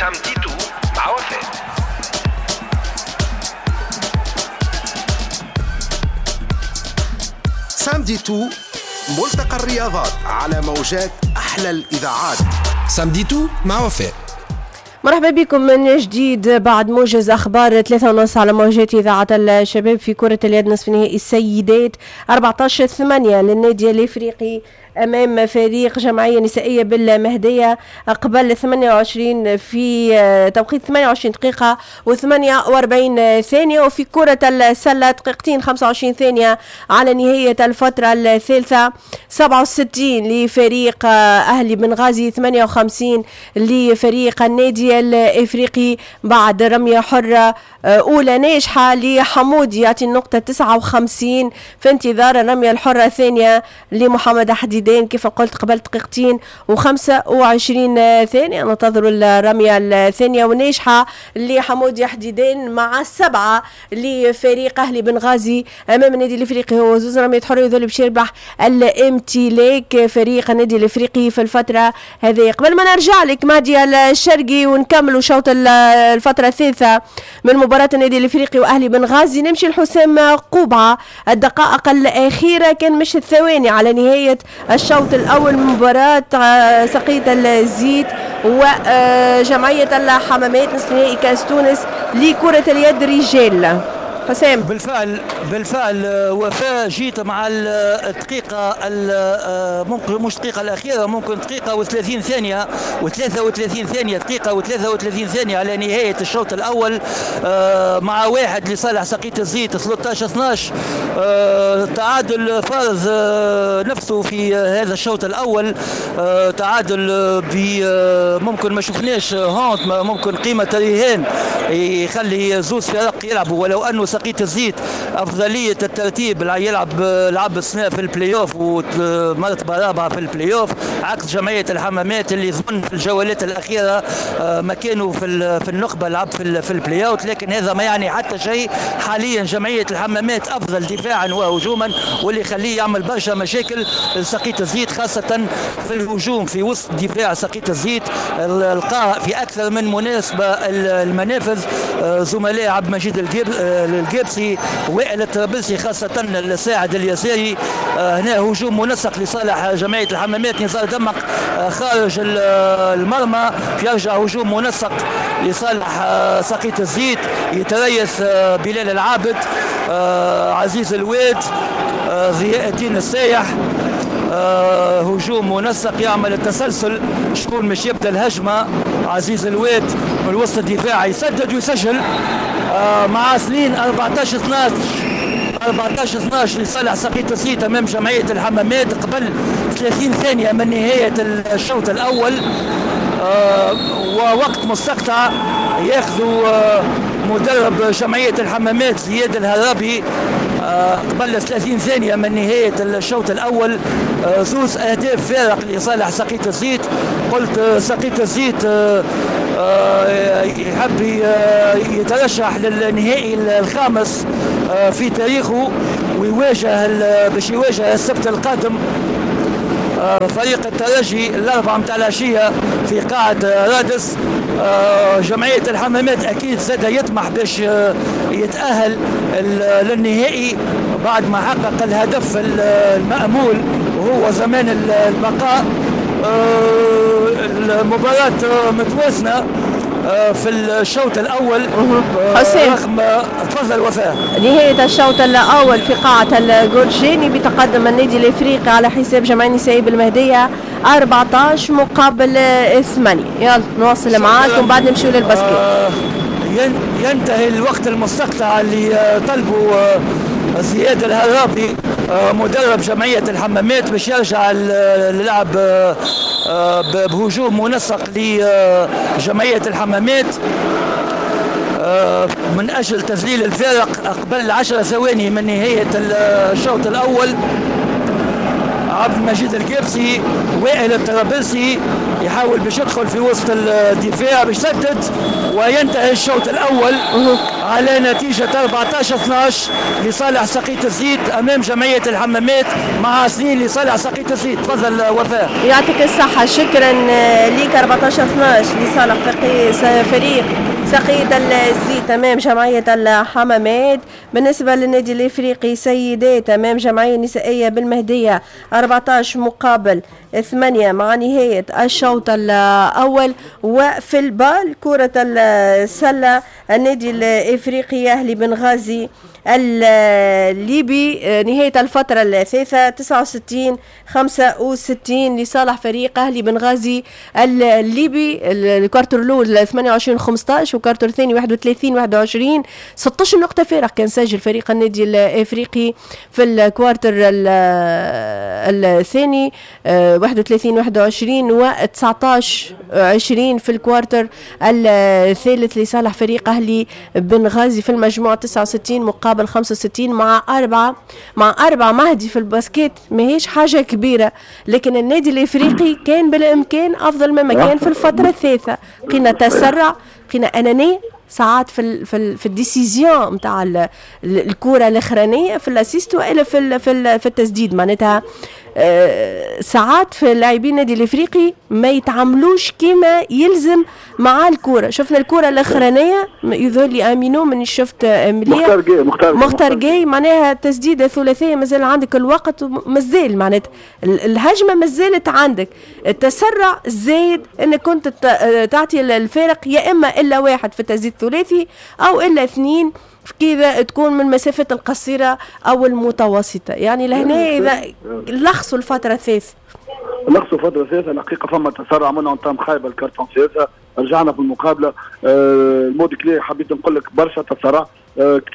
Samedi tout مع وفاء. Samedi tout، ملتقى الرياضات على موجات أحلى الإذاعات. Samedi tout مع وفاء. مرحبا بكم من جديد بعد موجز أخبار 3:30 على موجات إذاعة الشباب. في كرة اليد نصف نهائي السيدات 14-8 للنادي الإفريقي أمام فريق جمعية نسائية بالمهدية قبل 28 في توقيت 28 دقيقة و48 ثانية. وفي كرة السلة دقيقتين 25 ثانية على نهاية الفترة الثالثة، 67 لفريق أهلي بنغازي، 58 لفريق النادي الإفريقي بعد رمية حرة أولى ناجحة لحمودي يعطي النقطة 59 في انتظار الرمية الحرة الثانية لمحمد حديدان كيف قلت قبل دقيقتين و25 ثانية. ننتظر الرمية الثانية وناجحة لحمودي حديدان مع 7 لفريق أهلي بنغازي أمام النادي الإفريقي. هو زوز رمية حرة يذل باش يربح الامتلاك فريق النادي الإفريقي في الفترة هذه. قبل ما نرجع لك مهدي الشرقي ونكملوا شوط الفترة الثالثة من مباراة النادي الإفريقي وأهلي بنغازي، نمشي لحسام قوبعة. الدقائق الأخيرة كان مش الثواني على نهاية الشوط الأول من مباراة سقية الزيت وجمعية الحمامات نصف نهائي كأس تونس لكرة اليد رجال. حسام. بالفعل وفاء، جيت مع الدقيقة ممكن مش الدقيقة الأخيرة، ممكن دقيقة و30 ثانية و33 ثانية، دقيقة و33 ثانية على نهاية الشوط الأول، مع 1 لصالح سقية الزيت 13-12. تعادل فارض نفسه في هذا الشوط الأول، تعادل ممكن ما شفناش هونت، ممكن قيمة رهان يخلي زوز فرق يلعبوا، ولو أنه سقية الزيت أفضلية الترتيب يلعب لعب السنة في البلاي اوف ومرتبة رابعة في البلاي اوف، عكس جمعية الحمامات اللي ظن في الجولات الأخيرة مكانه في النخبة لعب في ال play-out، لكن هذا ما يعني حتى شيء. حاليا جمعية الحمامات أفضل دفاعا وهجوما، واللي يخليه يعمل برشا مشاكل لسقية الزيت، خاصة في الهجوم في وسط دفاع سقية الزيت. لقى في أكثر من مناسبة المنافذ زملاء عبد المجيد الجبسي وائل الطرابلسي خاصة الساعد اليساري. هنا هجوم منسق لصالح جمعية الحمامات، نزار دمق خارج المرمى، يرجع هجوم منسق لصالح سقية الزيت، يتريث بلال العابد، عزيز الواد، ضياء الدين السايح. هجوم منسق يعمل التسلسل، شكون مش يبدا الهجمة؟ عزيز الواد من الوسط الدفاعي يسدد ويسجل، مع سنين 14-12 14-12 لصالح سقية الزيت امام جمعية الحمامات قبل 30 ثانية من نهاية الشوط الاول، ووقت مستقطع ياخذوا مدرب جمعية الحمامات زياد الهرابي قبل 30 ثانية من نهاية الشوط الاول. زوز اهداف فارق لصالح سقية الزيت. قلت سقية الزيت يحب يترشح للنهائي الخامس في تاريخه، ويواجه باش يواجه السبت القادم فريق الترجي الأربعة متاع العشية في قاعة رادس. جمعية الحمامات أكيد زاد يطمح باش يتأهل للنهائي بعد ما حقق الهدف المأمول وهو زمان البقاء. المباراة متوازنة في الشوط الأول. حسين تفضل وفاء. نهاية الشوط الأول في قاعة الجورجيني بتقدم النادي الإفريقي على حساب جمعية نسائي بالمهدية 14-8. يلا نواصل معاكم بعد نمشيو لل basket. ينتهي الوقت المستقطع اللي طلبه زياد الهرابي مدرب جمعية الحمامات باش يرجع للعب بهجوم منسق لجمعية الحمامات من أجل تذليل الفارق قبل 10 ثواني من نهاية الشوط الأول. عبد المجيد القابسي، وائل الطرابلسي يحاول باش يدخل في وسط الدفاع باش يسدد، وينتهي الشوط الاول على نتيجة 14-12 لصالح سقية الزيت امام جمعية الحمامات، مع 2 لصالح سقية الزيت. تفضل وفاء. يعطيك الصحة، شكرا ليك. 14-12 لصالح فريق سقية الزيت امام جمعية الحمامات. بالنسبة للنادي الافريقي سيدات امام جمعية نسائية بالمهديه 14-8 مع نهاية الشوط الاول. وفي ال BAL كره السلة النادي الافريقي اهلي بنغازي الليبي نهاية الفترة الثالثة 69-65 لصالح فريق أهلي بنغازي الليبي. ال quart الأول 28-15 و quart الثاني 31-21، 16 نقطة فارق كان سجل فريق النادي الإفريقي في ال quart الثاني 31-21 و 19-20 في ال quart الثالث لصالح فريق أهلي بنغازي. في المجموع 69-65 مع أربعة مهدي في ال basket ماهيش حاجة كبيرة، لكن النادي الإفريقي كان بالإمكان أفضل مما كان في الفترة الثالثة. لقينا تسرع، لقينا أنانية ساعات في في ال décision نتاع الكرة الأخرانية في ال assist وإلا في التسديد. معناتها ساعات في لاعبين النادي الافريقي ما يتعاملوش كما يلزم مع الكره. شفنا الكره الاخرانية يظهر لي امينو من شفت مليح مختار جاي معناها تسديده ثلاثية، مازال عندك الوقت، مازال معناتها الهجمة مازالت عندك. التسرع زايد انك كنت تعطي الفارق يا اما الا واحد في التسديد الثلاثي او الا اثنين كذا تكون من المسافات القصيرة أو المتوسطة. يعني لهنا إذا لخصوا الفترة الثالثة، لخصوا الفترة الثالثة الحقيقة فما تسرع عملنا entame خايبة ال quart-temps الثالثة، رجعنا في المقابلة. ال mot clé حبيت نقول لك برشا تسرع،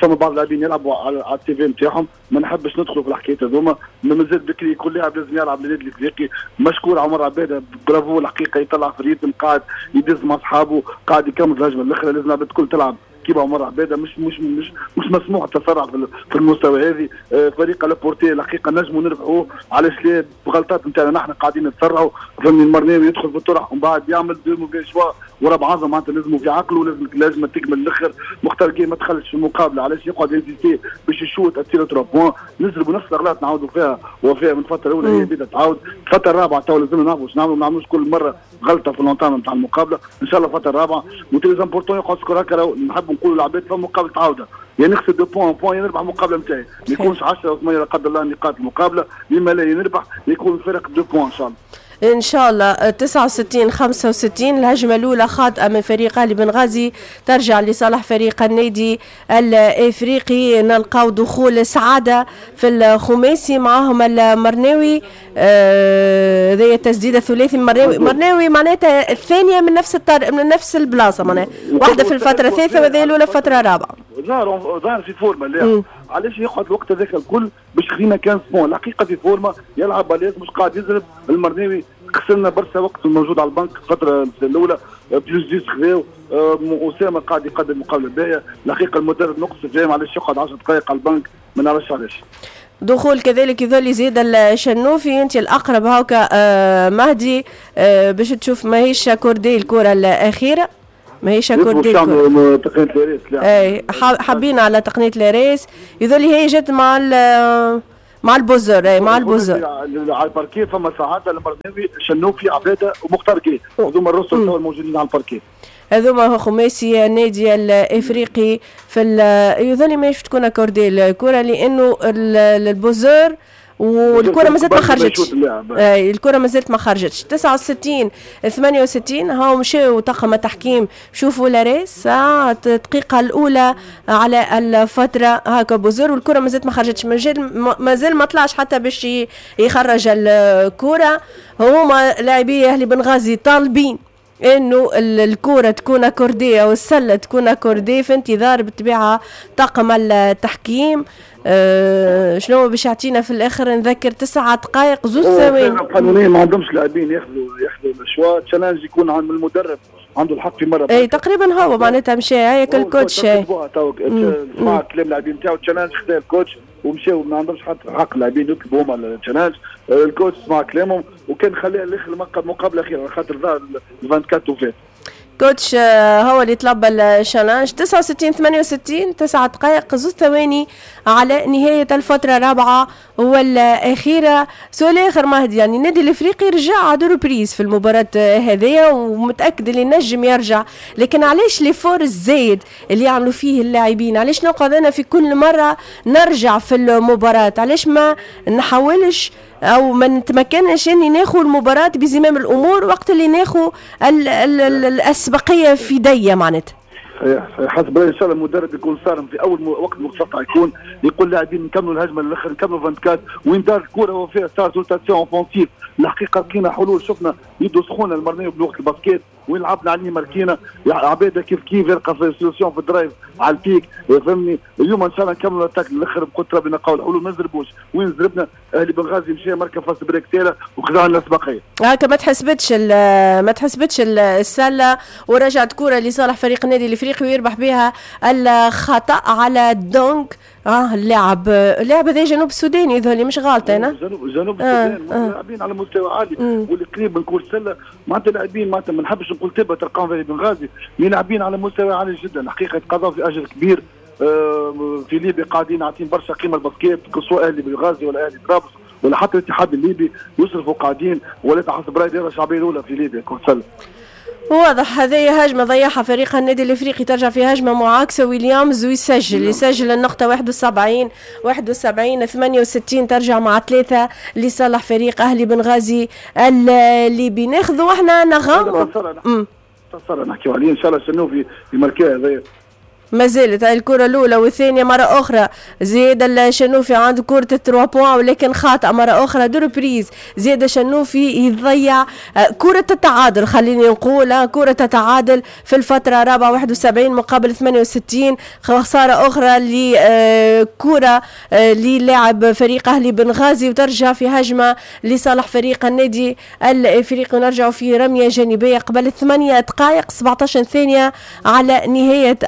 فما بعض اللاعبين يلعبوا على ال CV نتاعهم، ما نحبش ندخلوا في الحكايات هذوما، مازال بكري كل لاعب لازم يلعب للنادي الافريقي. مشكور عمر عباده، برافو الحقيقة، يطلع في ال rythme، قاعد يدز مع اصحابه، قاعد يكمل في الهجمة الاخرى. لازم العباد الكل تلعب كيما عمر عباده، مش مش مش مش مسموح التسرع في المستوى هذه. فريق à la portée الحقيقة نجموا نربحوه، علاش لا؟ بغلطات نتاعنا نحن قاعدين نتسرعوا. فهمني المرناوي يدخل في الطرح ومن بعد يعمل deux mauvais choix ورا بعضهم، معناتها لازم في عقله، لازم تكمل الاخر. مختار كي ما دخلش في المقابلة، علاش يقعد insister باش يشوت à tir 3 points؟ نزربوا نفس الاغلاط نعاودوا فيها وفيها من الفترة الاولى هي بدات تعاود. الفترة الرابعة تو لازم نعرفوا باش نعملوا، ما نعملوش كل مرة غلطه في l'entame نتاع المقابلة. ان شاء الله الفترة الرابعة و très important يقعد score هكا. نحب نقولوا العباد في مقابله عوده، يا نخسر 2 points point يا نربح المقابلة نتاعي، ما يكونش 10 و 8 لا قدر الله نقاط المقابلة، لما لا نربح يكون الفرق 2 points ان شاء الله. ان شاء الله. 69-65 الهجمة الاولى خاطئه من فريق اهلي بنغازي ترجع لصالح فريق النادي الافريقي. نلقاو دخول سعادة في الخماسي معاهم المرناوي، هذه التسديده الثلاثي مرناوي معناتها الثانية من نفس من نفس البلاصة، معناها واحدة في الفترة الثالثة وهذه الاولى في الفترة الرابعة. ظهر في forme اللاعب، علاش يقعد الوقت هذاك الكل باش خلينا 15 points؟ الحقيقة في forme يلعب à l'aise، مش قاعد يزرب. المرناوي خسرنا برشا وقت موجود على البنك الفترة الاولى، plus 10 خذاو. اسامة قاعد يقدم مقابله باهيه الحقيقة، المدرب نقص فيهم، علاش يقعد 10 دقائق على البنك؟ ما نعرفش علاش. دخول كذلك يظل يزيد الشنوفي، انت الاقرب هاكا مهدي باش تشوف ماهيش accordée الكره الاخيرة، ماهيش accordée تقنية ال RS. اي حابين على تقنية ال RS، يظل هي جت مع ال buzzer. اي مع ال buzzer على الباركي. فما سعادة المرناوي، شنوفي، عباده ومختار كي، هذوما الرسل الموجودين على الباركي، هذوما خماسي النادي الافريقي في يظل ماهيش تكون accordée الكره لانه ال buzzer والكره مازالت ما خرجتش. الكره مازالت ما خرجتش. 69-68 هاو مشاو طاقم التحكيم شوفوا l'RS الدقيقة الاولى على الفترة هاكا buzzer والكره مازالت ما خرجتش، مازال ما طلعش حتى باش يخرج الكره. هما لاعبي اهلي بنغازي طالبين انه الكره تكون accordée او السلة تكون accordée، في انتظار بالطبيعة طاقم التحكيم. شنو باش يعطينا في الاخر؟ نذكر 9 دقائق 2 ثواني. القانونية ما عندهمش لاعبين ياخذوا ال choix، challenge يكون عند المدرب عنده الحق في مرة. اي تقريبا هو معناتها مشى هيك ال coach مع كلام اللاعبين نتاعو challenge خذا ال coach ومشاو، ما عندهمش حتى حق اللاعبين يطلبوا هما ال challenge. ال coach سمع كلامهم وكان خليها الاخر المقابلة الاخيرة خاطر ظهر 24 وفات. coach هو اللي طلب ال challenge. 69 68، 9 دقائق 2 ثواني على نهاية الفترة الرابعة والأخيرة. سؤال آخر مهدي، يعني النادي الإفريقي رجع deux reprises في المباراة هذيا ومتأكد اللي نجم يرجع، لكن علاش l'effort الزايد اللي يعملوا فيه اللاعبين؟ علاش نقعد أنا في كل مرة نرجع في المباراة؟ علاش ما نحاولش او ما نتمكنش اني ناخذ المباراة بزمام الامور وقت اللي ناخذ الاسبقيه في ديه معناتها؟ صحيح صحيح، حسب رايي ان شاء الله المدرب يكون صارم في اول وقت مقتطع، يكون يقول اللاعبين نكملوا الهجمة للاخر، نكملوا 24، وين دار الكره وفيها صارت rotation offensive. الحقيقة لقينا حلول، شفنا يدو سخونة المرميه بلغه ال basket، وين لعبنا عليه ماركينا عباده كيف كيف يلقى في solution في ال drive على ال pick، فهمني. اليوم ان شاء الله نكملوا l'attaque للاخر بقدره ربي، نلقاو الحلول، ما نزربوش. وين زربنا اهلي بنغازي مشى مركب fast break ساله وخذا لنا الاسبقيه. هكا ما تحسبتش السلة ورجعت كره لصالح فريق النادي الافريقي ويربح بها الخطا على dunk. اللاعب هذا جنوب السوداني يظهر لي، مش غلطه انا. جنوب السودان، لاعبين على مستوى عالي واللي قريب من كل سله، معناتها لاعبين معناتها ما نحبش نقول تبا تلقاهم في بنغازي، لاعبين على مستوى عالي جدا. الحقيقة يتقاضوا في اجر كبير في ليبيا، قاعدين عاطين برشا قيمة ال basket، سواء اهلي بنغازي ولا اهلي طرابلس ولا حتى الاتحاد الليبي يصرفوا قاعدين، ولا حسب رايي دائرة الشعبية الاولى في ليبيا كره سله. واضح. هذه هجمة ضيعها فريق النادي الافريقي، ترجع في هجمة معاكسة ويليامز ويسجل، يسجل النقطة 71 71 68، ترجع مع 3 لصالح فريق اهلي بنغازي الليبي. ناخذوا احنا نغم. نحكيو عليه ان شاء الله شنو في ماركيه هذايا. ما زالت الكرة الأولى والثانية. مرة أخرى زياد الشنوفي عنده كرة ال trois points ولكن خاطئ مرة أخرى. deux reprises زياد الشنوفي يضيع كرة التعادل، خليني نقول كرة التعادل في الفترة الرابعة، 71 مقابل 68. خسارة أخرى لكرة للاعب فريق أهلي بنغازي وترجع في هجمة لصالح فريق النادي الإفريقي، ونرجع في رمية جانبية قبل 8 دقائق 17 ثانية على نهاية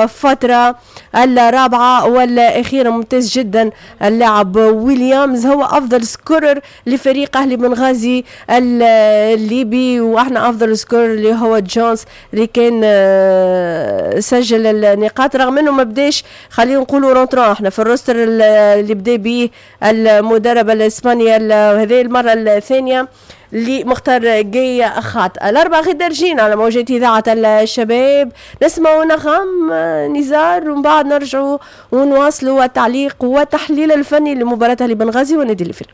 الفترة الرابعة والأخيرة. ممتاز جدا اللاعب ويليامز، هو أفضل scorer لفريق أهلي بنغازي الليبي، وإحنا أفضل scorer اللي هو جونز اللي كان سجل النقاط رغم أنه ما بداش، خلينا نقولوا rentrant احنا في ال roster اللي بدا به المدرب الإسباني. هذه المرة الثانية لمختار جاي خاطئ. الأربعة غير درجين على موجات إذاعة الشباب، نسمعوا نغم نزار ومن بعد نرجعوا ونواصلوا التعليق والتحليل الفني لمباراة أهلي بنغازي والنادي الإفريقي.